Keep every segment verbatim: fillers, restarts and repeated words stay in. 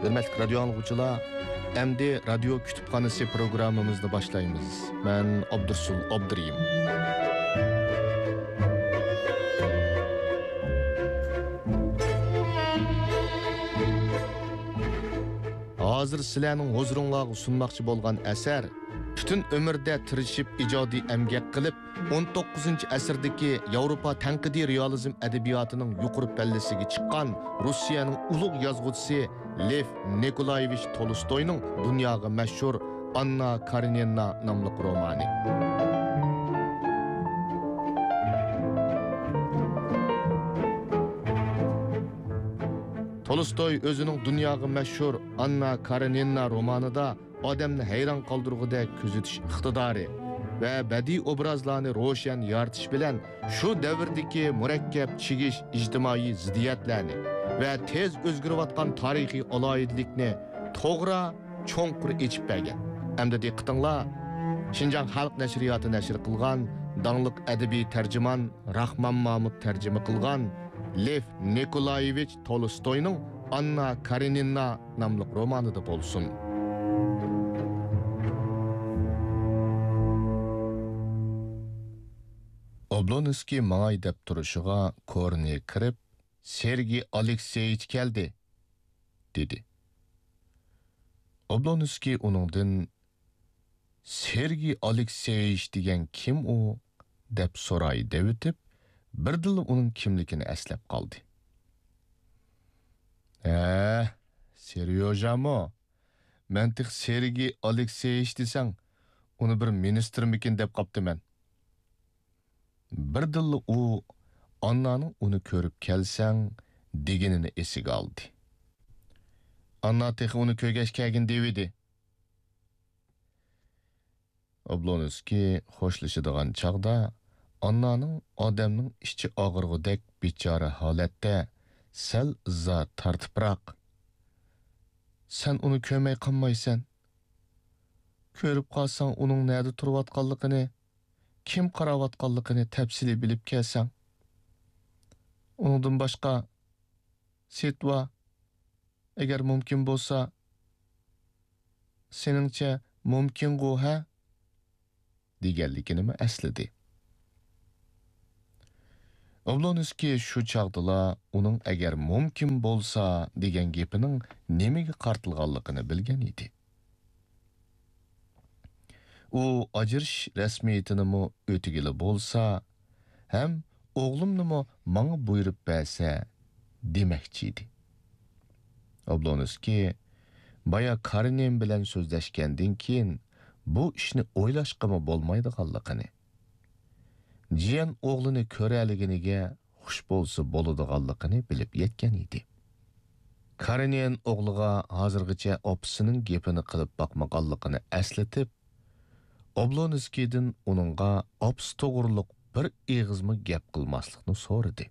ھۆرمەتلىك رادىيو ئاڭلىغۇچىلار، ئەمدى رادىيو كۇتۇپخانىسى پروگراممىمىزنى باشلايمىز. مەن ئابدۇرسۇل ئابدۇرېھىم. ھازىر سىلەرنىڭ ھۇزۇرۇڭلارغا سۇنماقچى بولغان ئەسەر پۈتۈن ئۆمرىدە تىرىشىپ ئىجادىي ئەمگەك قىلىپ، ئون توققۇزىنچى ئەسىردىكى ياۋروپا تەنقىدىي رېئالىزم ئەدەبىياتىنىڭ يۇقىرى پەللىسىگە چىققان روسىيەنىڭ ئۇلۇغ يازغۇچىسى لېف نىكولايېۋىچ تولستوينىڭ دۇنياغا مەشھۇر ئاننا كارېنىنا ناملىق رومانى. تولستوي ئۆزىنىڭ دۇنياغا مەشھۇر ئاننا كارېنىنا رومانىدا ئادەمنى ھەيران قالدۇرغۇدەك كۆزىتىش ئىقتىدارى ۋە بەدىئىي ئوبرازلارنى روشەن يارىتىش بىلەن شۇ دەۋردىكى مۇرەككەپ چىگىش ئىجتىمائىي زىددىيەتلەرنى ۋە تېز ئۆزگىرىۋاتقان تارىخىي ئالاھىدىلىكنى توغرا، چوڭقۇر ئېچىپ بەرگەن. ئەمدى دىققىتىڭلار شىنجاڭ خەلق نەشرىياتى نەشر قىلغان داڭلىق ئەدەبىي تەرجىمان راخمان مامۇت تەرجىمە قىلغان لېف نىكولايېۋىچ تولستوينىڭ ئاننا كارېنىنا ناملىق رومانىدا بولسۇن. ئوبلونسكىي ماڭاي دەپ تۇرۇشىغا كورنېي كىرىپ، «سېرگېي ئالېكسېيىچ كەلدى» دېدى. ئوبلونسكىي ئۇنىڭدىن، «سېرگېي ئالېكسېيىچ دېگەن كىم ئۇ؟» دەپ سوراي دەۋېتىپ، بىردىنلا ئۇنىڭ كىملىكىنى ئەسلەپ قالدى. «ھە، سېريوژامۇ؟ مەن تېخى سېرگېي ئالېكسېيىچ دېسەڭ، ئۇنى بىر مىنىستىرمىكىن دەپ قاپتىمەن.» بىردىنلا ئۇ ئاننانىڭ ئۇنى كۆرۈپ كەلسەڭ دېگىنىنى ئېسىگە ئالدى. «ئاننا تېخى ئۇنى كۆرگەچ كەلگىن دېۋىدى.» ئوبلونسكىي خوشلىشىدىغان چاغدا ئاننانىڭ ئادەمنىڭ ئىچى ئاغرىغۇدەك بىچارە ھالەتتە سەل ئىززا تارتىپراق، «سەن ئۇنى كۆرمەي قالمايسەن. كۆرۈپ قالساڭ ئۇنىڭ نەدە تۇرۇۋاتقانلىقىنى، كىم قاراۋاتقانلىقىنى تەپسىلىي بىلىپ كەلسەڭ. ئۇنىڭدىن باشقا، سېتۋا، ئەگەر مۇمكىن بولسا، سېنىڭچە مۇمكىنغۇ، ھە؟» دېگەنلىكىنىمۇ ئەسلىدى. ئوبلونسكىي شۇ چاغدىلا ئۇنىڭ «ئەگەر مۇمكىن بولسا» دېگەن گېپىنىڭ نېمىگە قارىتىلغانلىقىنى بىلگەن ئىدى. ئۇ ئاجرىشىش رەسمىيىتىنىمۇ ئۆتىگىلى بولسا، ھەم «ئوغلۇمنىمۇ ماڭا بۇيرۇپ بەرسە» دېمەكچى ئىدى. ئوبلونسكىي بايا كارېنىن بىلەن سۆزلەشكەندىن كېيىن، بۇ ئىشنى ئويلاشقىمۇ بولمايدىغانلىقىنى، جىيەن ئوغلىنى كۆرەلىگىنىگە خۇش بولسا بولىدىغانلىقىنى بىلىپ يەتكەن ئىدى. كارېنىن ئوغلىغا ھازىرغىچە ئاپىسىنىڭ گېپىنى قىلىپ باقمىغانلىقىنى ئەسلىتىپ، ئوبلونسكىيدىن ئۇنىڭغا ئاپىسى توغرۇلۇق بىر ئېغىزمۇ گەپ قىلماسلىقنى سورىدى.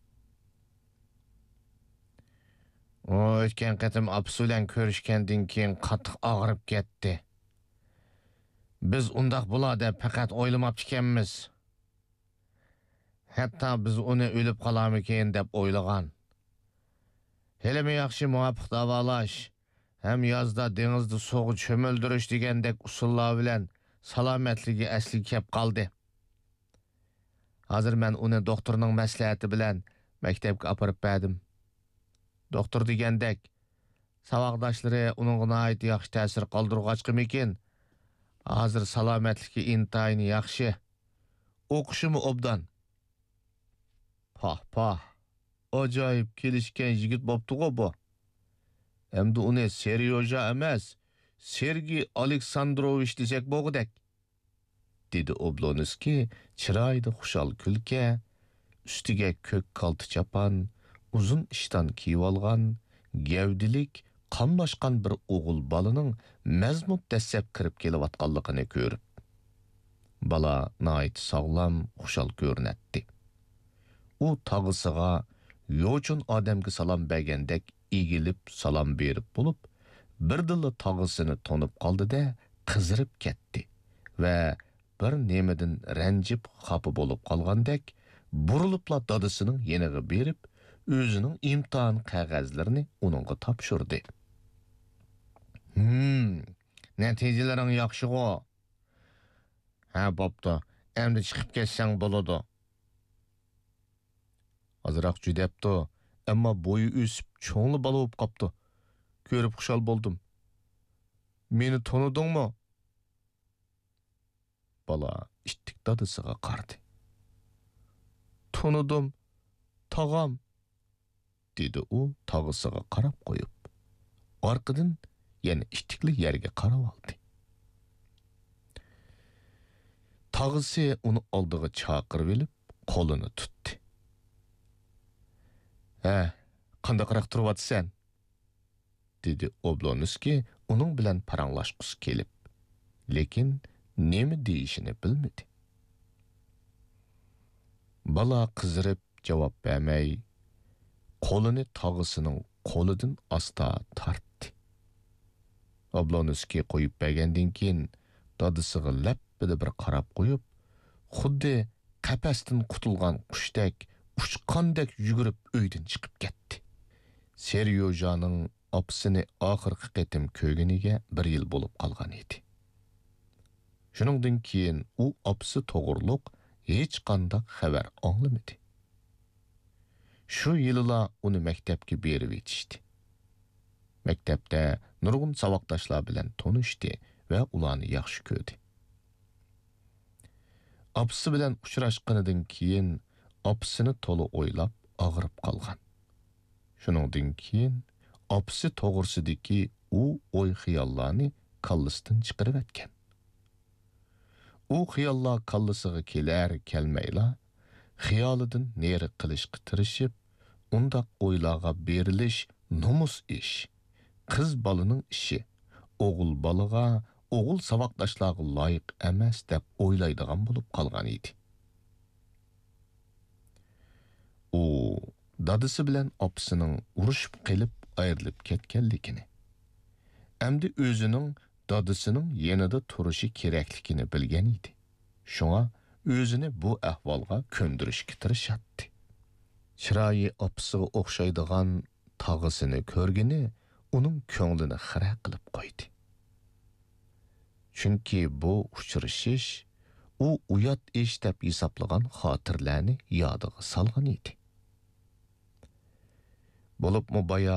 ئۇ ئۆتكەن قېتىم ئاپىسى بىلەن كۆرۈشكەندىن كېيىن قاتتىق ئاغرىپ كەتتى. بىز ئۇنداق بولار دەپ پەقەت ئويلىماپتىكەنمىز. ھەتتا بىز ئۇنى ئۆلۈپ قالارمىكىن دەپ ئويلىغان. ھېلىمۇ ياخشى مۇۋاپىق داۋالاش ھەم يازدا دېڭىزدا سۇغا چۆمۈلدۈرۈش دېگەندەك ئۇسۇللار بىلەن سالامەتلىكى ئەسلىگە كەپ قالدى. ھازىر مەن ئۇنى دوختۇرنىڭ مەسلىھەتى بىلەن مەكتەپكە ئاپىرىپ بەردىم. دوختۇر دېگەندەك، ساۋاقداشلىرى ئۇنىڭغا ناھايىتى ياخشى تەسىر قالدۇرغاچقىمىكىن، ھازىر سالامەتلىكى ئىنتايىن ياخشى. ئوقۇشىمۇ ئوبدان. پاھ، پاھ، ئاجايىپ كېلىشكەن يىگىت بوپتىغۇ بۇ. ئەمدى ئۇنى سېريوژا ئەمەس، سېرگېي ئالېكساندروۋىچ دېسەك بولغۇدەك. دېدى ئوبلونسكىي چىرايىدا خۇشال كۈلكە، ئۈستىگە كۆك كالتە چاپان، ئۇزۇن ئىشتان كىيىۋالغان، گەۋدىلىك، قاملاشقان بىر ئوغۇل بالىنىڭ مەزمۇت دەسسەپ كىرىپ كېلىۋاتقانلىقىنى كۆرۈپ. بالا ناھايىتى ساغلام، خۇشال كۆرۈنەتتى. ئۇ تاغىسىغا يوچۇن ئادەمگە سالام بەرگەندەك ئېگىلىپ سالام بېرىپ بولۇپ، بىردىنلا تاغىسىنى تونۇپ قالدى-دە، قىزىرىپ كەتتى ۋە بىر نېمىدىن رەنجىپ خاپا بولۇپ قالغاندەك، بۇرۇلۇپلا دادىسىنىڭ يېنىغا بېرىپ، ئۆزىنىڭ ئىمتىھان قەغەزلىرىنى ئۇنىڭغا تاپشۇردى. ھىم، نەتىجىلىرىڭ ياخشىغۇ؟ ھە، بوپتۇ. ئەمدى چىقىپ كەتسەڭ بولىدۇ. ئازراق جۈدەپتۇ، ئەمما بويى ئۆسۈپ، چوڭلا بالا بولۇپ قاپتۇ. كۆرۈپ خۇشال بولدۇم. مېنى تونۇدۇڭمۇ؟ بالا ئىتتىك دادىسىغا قارىدى. تونۇدۇم، تاغام، دېدى ئۇ تاغىسىغا قاراپ قويۇپ. ئارقىدىن يەنە ئىتتىكلا يەرگە قاراۋالدى. تاغىسى ئۇنى ئالدىغا چاقىرىۋېلىپ، قولىنى تۇتتى. ھە، قانداقراق تۇرۇۋاتىسەن؟ دېدى ئوبلونسكىي ئۇنىڭ بىلەن پاراڭلاشقۇسى كېلىپ، لېكىن نېمە دېيىشىنى بىلمىدى. بالا قىزىرىپ جاۋاب بەرمەي، قولىنى تاغىسىنىڭ قولىدىن ئاستا تارتتى. ئوبلونسكىي قويۇپ بەرگەندىن كېيىن، دادىسىغا لەپپىدە بىر قاراپ قويۇپ، خۇددى قەپەستىن قۇتۇلغان قۇشتەك، ئۇچقاندەك يۈگۈرۈپ ئۆيدىن چىقىپ كەتتى. سېريوژانىڭ ئاپىسىنى ئاخىرقى قېتىم كۆرگىنىگە بىر يىل بولۇپ قالغان ئىدى. شۇنىڭدىن كېيىن ئۇ ئاپىسى توغرۇلۇق ھېچقانداق خەۋەر ئاڭلىمىدى. شۇ يىلىلا ئۇنى مەكتەپكە بېرىۋېتىشتى. مەكتەپتە نۇرغۇن ساۋاقداشلار بىلەن تونۇشتى ۋە ئۇلارنى ياخشى كۆردى. ئاپىسى بىلەن ئۇچراشقىنىدىن كېيىن، ئاپىسىنى تولا ئويلاپ ئاغرىپ قالغان. شۇنىڭدىن كېيىن ئاپىسى توغرىسىدىكى ئۇ ئوي-خىياللارنى كاللىسىدىن چىقىرىۋەتكەن. ئۇ خىياللار كاللىسىغا كېلەر-كەلمەيلا، خىيالىدىن نېرى قىلىشقا تىرىشىپ، ئۇنداق ئويلارغا بېرىلىش نومۇس ئىش، قىز بالىنىڭ ئىشى، ئوغۇل بالىغا، ئوغۇل ساۋاقداشلارغا لايىق ئەمەس دەپ ئويلايدىغان بولۇپ قالغان ئىدى. ئۇ دادىسى بىلەن ئاپىسىنىڭ ئۇرۇشۇپ قېلىپ ئايرىلىپ كەتكەنلىكىنى، ئەمدى ئۆزىنىڭ دادىسىنىڭ يېنىدا تۇرۇشى كېرەكلىكىنى بىلگەن ئىدى. شۇڭا ئۆزىنى بۇ ئەھۋالغا كۆندۈرۈشكە تىرىشاتتى. چىرايى ئاپىسىغا ئوخشايدىغان تاغىسىنى كۆرگىنى ئۇنىڭ كۆڭلىنى خىرە قىلىپ قويدى. چۈنكى بۇ ئۇچرىشىش ئۇ ئۇيات ئىش دەپ ھېسابلىغان خاتىرىلەرنى يادىغا سالغان ئىدى. بولۇپمۇ بايا